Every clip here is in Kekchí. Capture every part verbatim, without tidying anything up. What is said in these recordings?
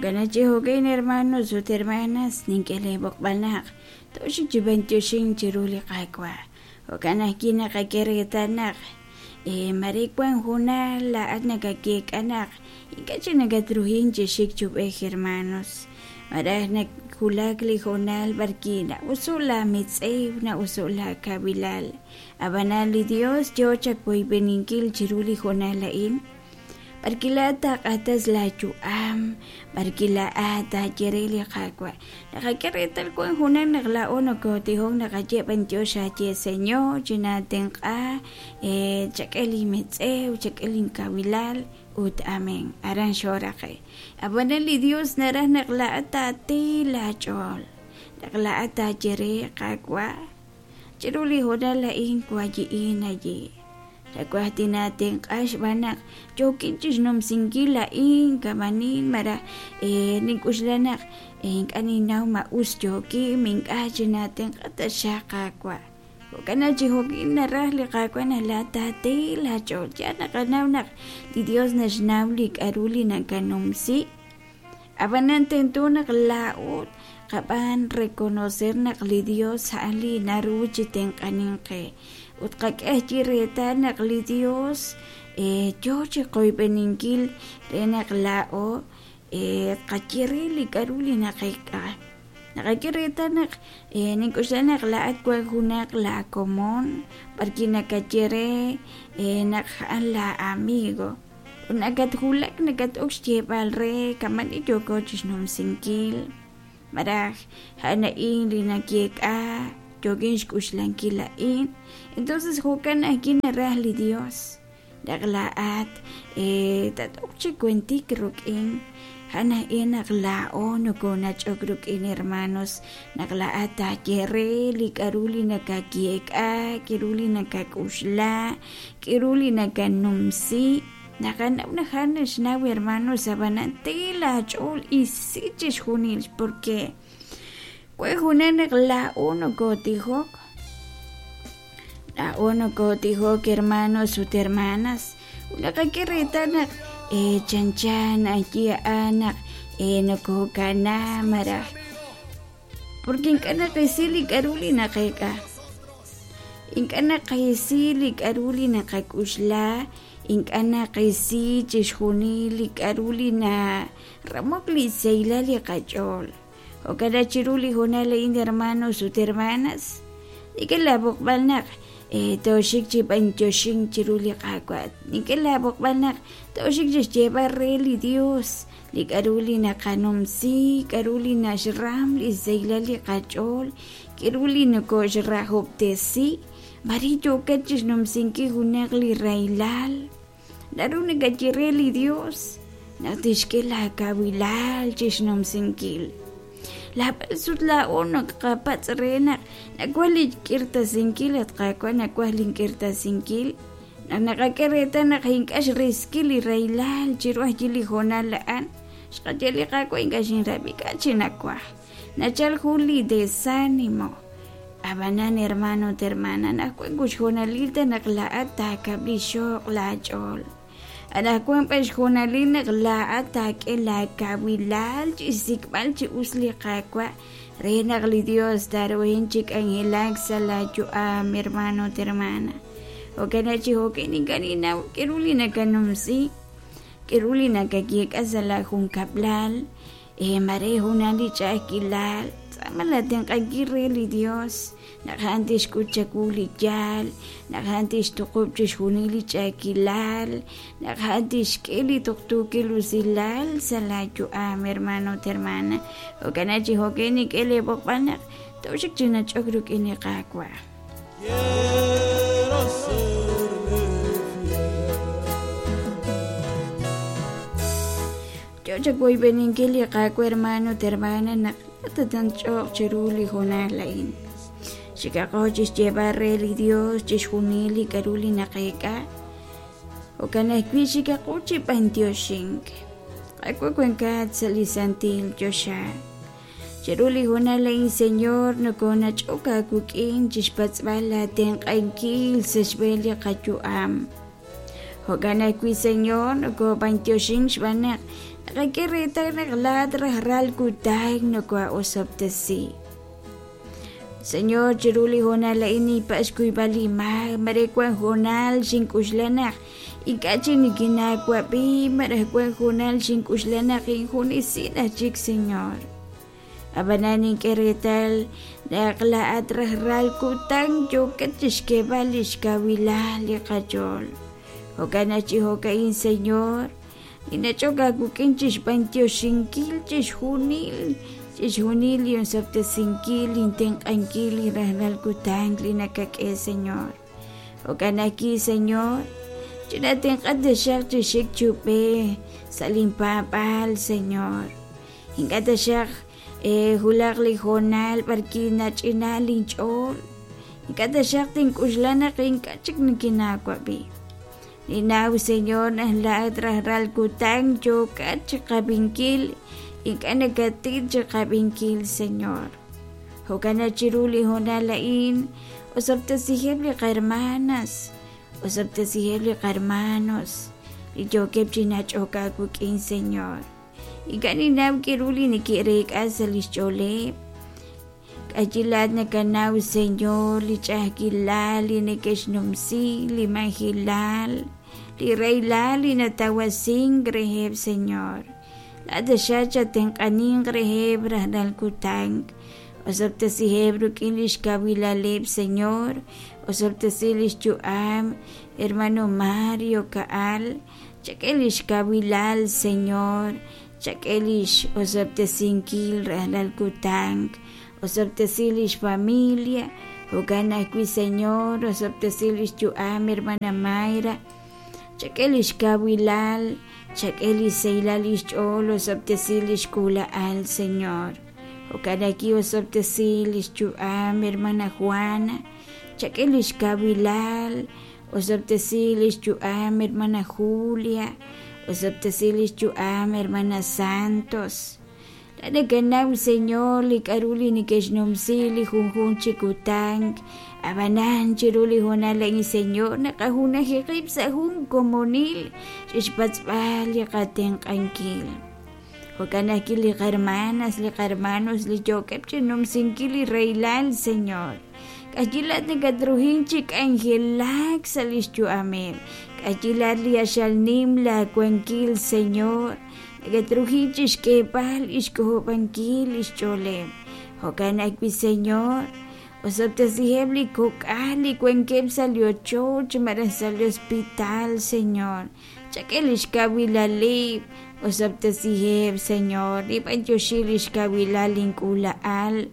Jo'kan chi jo'kan hermanos ut hermanas nink'e leeb'oqb'al naq toxik chi b'antioxink chiru li Qaawa'. Jo'kan ajwi' naqak'e reetal naq mare wan junal laa'at nakakeek'a naq ink'a' chik nakatruhin chi xik chub'ej hermanos. Maraj nakulak li hoonal b'arki na'usu' la mitz'ew na'usu' la kabilal. Ab'anan li Dios yoo chawoyb'eninkil chiru li hoonal a'in. B'arki laa'at taaq'atas laayu'am, b'arki laa'at taaye re li Qaawa'. Naqak'e reetal wan junal naq laa'o nokotijok naqaye b'antiox aaye Señor chinaatenq'a chak'e linmitz'ew, chak'e linkawilal ut amén. Aran xoraqe. Ab'anan li Dios naraj naq laa'at taati laach'ool. Naq laa'at taaye re Qaawa' chiru li hoonal a'in wayi'in aye. Nawaj tinaatenq'a xb'aan naq yookin chixnumsinkil a'in kamanin maraj nink'uxla naq ink'a' ninnaw ma us yookin ink'a' chinaatenq'a taxaq Qaawa'. Jo'kan chi jo'kin naraj li Qaawa' naq laa'at taati laach'ool. Ya naqanaw naq li Dios naxnaw li k'a'ru li nakanumsi. Ab'anan tento naq laa'o qab'aan reconocer naq li Dios a'an li naru chi tenq'anin qe. Ut qak'e chi reetal naq li Dios yoo chi qoyb'eninkil re naq laa'o qaye re li k'a'ru li naqek'a. Naqak'e reetal naq nink'uxla naq laa'at wan junaq laakomon b'arki nakaye re naq a'an la amigo. Ut nakatjulak nakat'ok xyeeb'al re kamani yooko chixnumsinkil. Maraj a'an a'in li nakeek'a yookin xk'uxlankil a'in. Entonces jo'kan ajwi' naraj li Dios. Naq laa'at tat'ok chi kuentik ruk'in. A'an a'in naq laa'o nokonach'ok ruk'in hermanos. Naq laa'at taaye re li k'a'ru li nakakeek'a, k'a'ru li nakak'uxla, k'a'ru li nakanumsi. Naqanaw naq a'an naxnaw hermanos ab'anan te laach'ool isi chixjunil porque wan junal naq laa'o nokotijok. Laa'o nokotijok hermanos ut hermanas. Naqak'e reetal naq chanchan ayi a'an naq nokokana maraj porque ink'a' naqisi li k'a'ru li naqek'a. Ink'a' naqisi li k'a'ru li naqak'uxla. Ink'a' naqisi chixjunil li k'a'ru li naramok li sahilal li qach'ool. Jo'kan chiru li hoonal a'in hermanos ut hermanas. Nink'e laab'oqb'al naq toxik chi b'antioxink chiru li Qaawa'. Nink'e laab'oqb'al naq toxik chi xyeeb'al re li Dios li k'a'ru li naqanumsi, k'a'ru li naxram li sahilal li qach'ool, k'a'ru li nokoxrajob'tesi. Mari yookat chixnumsinkil junaq li rahilal. Naru nakaye re li Dios naq tixk'e laakawilal chixnumsinkil. Laab'al sut laa'o naqapatz' re naq nawaj li k'irtasinkil at Qaawa' nawaj link'irtasinkil. Naq naqak'e reetal naq ink'a' xriskil li rahilal chiru ajwi' li hoonal a'an. Xqaye li Qaawa' ink'a' xinrab'i k'a' chi nawaj. Nachal jun li desánimo. Ab'anan hermano ut hermana naq wan xhoonalil ta naq laa'at taakab'li xoq laach'ool. Anaqwan b'an xhoonalil naq laa'at taak'e laakawilal chi xsik'b'al chi us li Qaawa' re naq li Dios taaruhin chi k'anjelak sa' laayu'am hermano ut hermana. Jo'kan chi jo'kan ink'a' ninnaw k'a'ru li nakanumsi, k'a'ru li nakayeek'a sa' laajunkab'lal, mare junal li ch'a'ajkilal. Tz'aama laatenq'ankil re li Dios naq a'an tixk'ut chawu li yaal, naq a'an tixtuqub' chixjunil li ch'a'ajkilal, naq a'an tixk'e li tuqtuukil usilal sa' laayu'am hermano ut hermana. Jo'kan chi jo'kan nink'e leeb'oqb'al naq toxik chi nach'ok ruk'in li Qaawa'. Quiero serle fiel. Yo chawoyb'eninkil li Qaawa' hermano ut hermana naq tatanch'oq chiru li hoonal a'in. Xikaqo chixyeeb'al re li Dios chixjunil li k'a'ru li naqek'a. Jo'kan ajwi' xikaqo chi b'antioxink. Qaawa' wankat sa' li santil choxa. Chiru li hoonal a'in Señor nokonach'ok aawik'in chixpatz'b'al laatenq'ankil sa' xb'een li qayu'am. Jo'kan ajwi' Señor nokob'antioxin xb'aan naq naqak'e reetal naq laa'at rajlal kutan noko'osob'tesi. Señor, chiru li hoonal a'in ninpatz' xkuyb'al li maak, mare wan hoonal xink'uxla naq ink'a' chik nikinnaawab'i, malaj wan hoonal xink'uxla naq injunesin aj chik, Señor. Ab'anan nink'e reetal naq laa'at rajlal kutan yookat chixk'eeb'al lix kawilal li qach'ool. Jo'kan naq chi jo'ka'in, Señor, ninach'ok aawik'in chixb'antioxinkil chixjunil chixjunil li osob'tesinkil, lintenq'ankil li rajlal kutan li nakak'e, Señor. Jo'kan ajwi', Señor, chinatenq'a taxaq chi xik chub'e sa' linpaab'aal, Señor. Ink'a' taxaq eh, hulaq li hoonal b'arki nach'ina linch'ool. Ink'a' taxaq tink'uxla naq ink'a' chik nikinaawab'i. Ninnaw, Señor, naq laa'at rajlal kutan yookat chiqab'inkil, ink'a' nakatit chiqab'inkil, Señor. Jo'kan naq chiru li hoonal a'in, osob'tesiheb' li qahermanas, osob'tesiheb' li qahermanos, li yookeb' chi nach'ok aawik'in, Señor. Ink'a' ninnaw k'aru li neke'reek'a sa' lix ch'ooleb'. K'ayi laa'at nakanaw, Señor, li ch'a'ajkilal li neke'xnumsi, li majilal, li rahilal li natawasink reheb', Señor. Laa'at taxaq chatenq'aninq reheb' rajlal kutan. Osob'tesiheb' rik'in lix kawilaleb', Señor. Osob'tesi lix yu'am, hermano Mario Ka'al. Chak'e lix kawilal, Señor. Chak'e lix osob'tesinkil rajlal kutan. Osob'tesi lix familia. Jo'kan ajwi', Señor, osob'tesi lix yu'am, hermana Mayra. Chak'e lix kawilal, chak'e lix sahilal lix ch'ool, osob'tesi lix k'uula'al, Señor. Jo'kan ajwi' osob'tesi lix yu'am, hermana Juana. Chak'e lix kawilal, osob'tesi lix yu'am, hermana Julia. Osob'tesi lix yu'am, hermana Santos. Laa'at nakanaw, Señor, li k'aru li neke'xnumsi li junjunq chi kutan. Ab'anan chiru li hoonal a'in, Señor, naqajunaji qib' sa' jun komonil chixpatz'b'al li qatenq'ankil. Jo'kan ajwi' li qahermanas, li qahermanos li yookeb' chinumsinkil li rahilal, Señor. K'ayi laa'at nakatruhin chi k'anjelak sa' lix yu'ameb'. K'ayi laa'at li axal nim laawankil, Señor. Nakatruhin chixk'eeb'al lix k'ojob'ankil lix ch'ooleb'. Jo'kan ajwi', Señor, osob'tesiheb' li kok'al li wankeb' sa' li ochoch malaj sa' li hospital, Señor. Chak'e lix kawilaleb', osob'tesiheb', Señor. Nib'antioxi lix kawilal link'uula'al.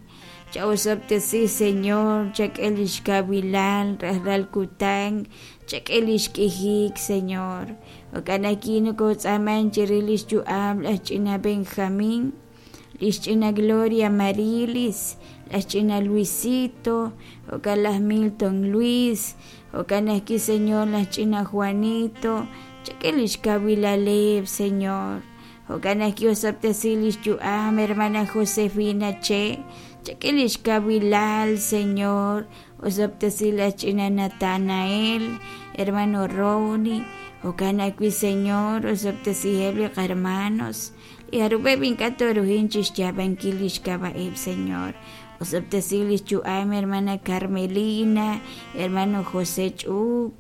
Cha'osob'tesi, Señor, chak'e lix kawilal rajlal kutan, chak'e lix k'ijik, Señor. Jo'kan ajwi' nokotz'aaman chirix lix yu'am laj ch'ina Benjamín, lix ch'ina Gloria Marilis, laj ch'ina Luisito, jo'kan laj Milton Luis, jo'kan ajwi', Señor, laj ch'ina Juanito, chak'e lix kawilaleb', Señor. Jo'kan ajwi' osob'tesi lix yu'am, hermana Josefina Che, chak'e lix kawilal, Señor. Osob'tesi laj ch'ina Natanael, hermano Ronnie, jo'kan ajwi', Señor, osob'tesiheb' li qahermanos, li jarub'eb' ink'a' toruhin chixyaab'ankil lix k'ab'a'eb', Señor. Osob'tesi lix yu'am, hermana Carmelina, hermano José Ch'ub,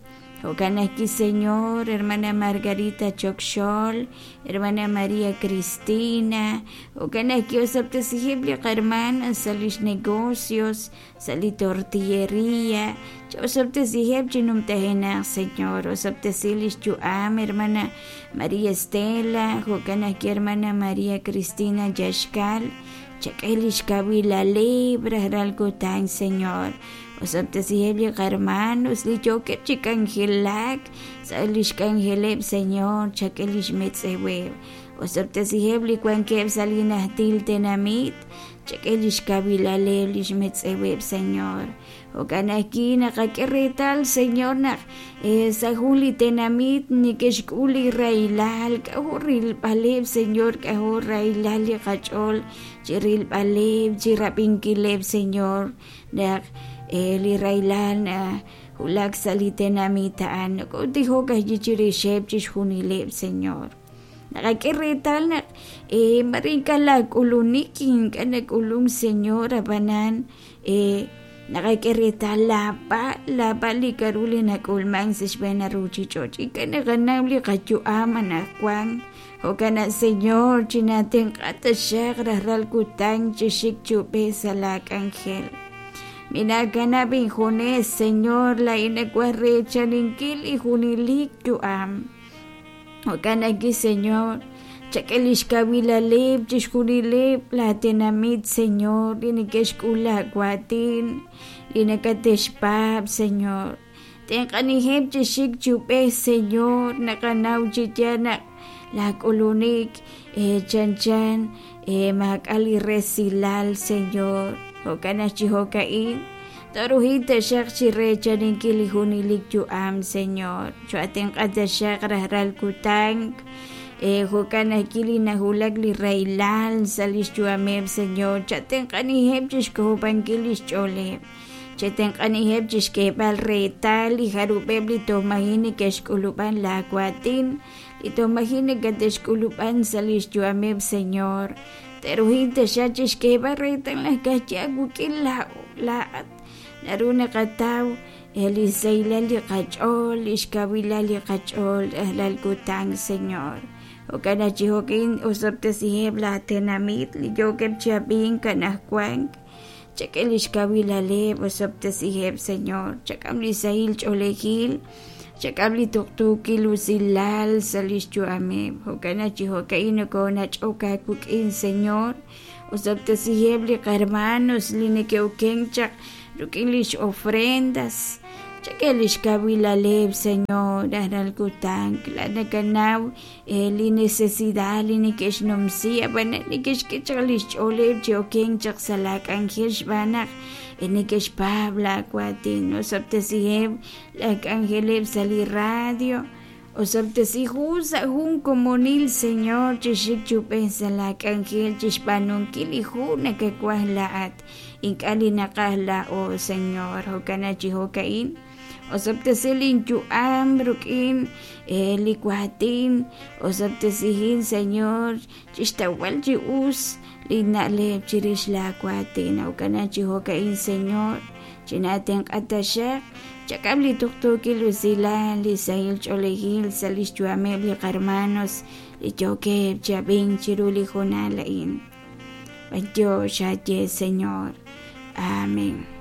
jo'kan ajwi', Señor, hermana Margarita Chokxol, hermana María Cristina, jo'kan ajwi' osob'tesiheb' li qahermanas sa' lix negocios, sa' li tortillería, cha'osob'tesiheb' chi numtajenaq, Señor. Osob'tesi lix yu'am, hermana María Estela, jo'kan ajwi' hermana María Cristina Yaxkal, chak'e lix kawilaleb' rajlal kutan, Señor. Osob'tesiheb' li qahermanos li yookeb' chi k'anjelak sa' lix k'anjeleb', Señor, chak'e lix metz'eweb'. Osob'tesiheb' li wankeb' sa' li najtil tenamit, chak'e lix kawilaleb' lix metz'eweb', Señor. Jo'kan ajwi' naqak'e reetal, Señor, naq eh, sa' jun li tenamit neke'xk'ul li rahilal, k'ajo' rilb'aleb', Señor, k'ajo' rahilal li qach'ool chi rilb'aleb', chi rab'inkileb', Señor, naq eh, li rahilal na wulak sa' li tenamit a'an nokotijok ajwi' chirixeb' chixjunileb' Señor naqak'e reetal naq eh, mare ink'a' laak'ulunik ink'a' nak'ulunk Señor ab'anan eh, naqak'e reetal laab'al laab'al li k'aru li nak'ulman sa' xb'een ruuchich'och' ink'a' naqanaw li qayu'am anaqwan jo'kan naq Señor chinatenq'a taxaq rajlal kutan chixik chub'ej sa' laak'anjel minakanab' injunes Señor laa'in nawaj reechaninkil li junelik yu'am jo'kan ajwi' Señor chak'e lix kawilaleb' chixjunileb' laatenamit Señor li neke'xk'ul laawaatin li nakatexpaab' Señor tenq'anijeb' chixik chub'ej Señor naqanaw chi yaal naq laak'ulunik eh, chanchan eh, maak'a' li resilal Señor jo'kan naq chi jo'ka'in toruhil taxaq chi reechaninkil li junelik yu'am Señor cho'atenq'a taxaq rajlal kutan eh, jo'kan ajwi' li nawulak li rahilal sa' lix yu'ameb' Señor chatenq'anijeb' chixk'ojob'ankil lix ch'ooleb' chetenq'anijeb' chixk'eeb'al reetal li jarub'eb' li tojmaji' neke'xk'ulub'an laawaatin li tojmaji' nakatexk'ulub'an sa' lix yu'ameb' Señor teruhil taxaq chixk'eeb'al reetal naq ka'ajwi' awuk'in laa'at naru naqataw li sahilal li qach'ool lix kawilal li qach'ool rajlal kutan Señor jo'kan naq chi jo'kin osob'tesiheb' laatenamit li yookeb' chi ab'ink anaqwan chak'e lix kawilaleb' osob'tesiheb' Señor chak'am li sahil ch'oolejil chak'am li tuqtuukil usilal sa' lix yu'ameb' jo'kan naq chi jo'ka'in nokonach'ok aawik'in Señor osob'tesiheb' li qarmanos li neke'okenk chaq rik'in lix ofrendas chak'e lix kawilaleb' Señor rajlal kutan la nakanaw eh, li necesidad li neke'xnumsi ab'an neke'xk'e chaq lix ch'ooleb' chi okenk chaq sa' laak'anjel xb'aan naq eh, neke'xpaab' laawaatin osob'tesiheb' laak'anjeleb' sa' li radio osob'tesihu sa' jun komonil Señor chixik chub'ej sa' laak'anjel chixb'aanunkil li jun nakawaj laa'at ink'a' li naqaj laa'o Señor jo'kan naq chi jo'ka'in osob'tesi linyu'am rik'in eh, li waatin osob'tesihin Señor chixtawb'al chi us li na'leb' chirix laawaatin jo'kan naq chi jo'ka'in Señor chinatenq'a taxaq chak'am li tuqtuukil usilal li sahil ch'oolejil sa' lix yu'ameb' li qarmanos li yookeb' chi ab'ink chiru li hoonal a'in b'antiox aye Señor. Amén.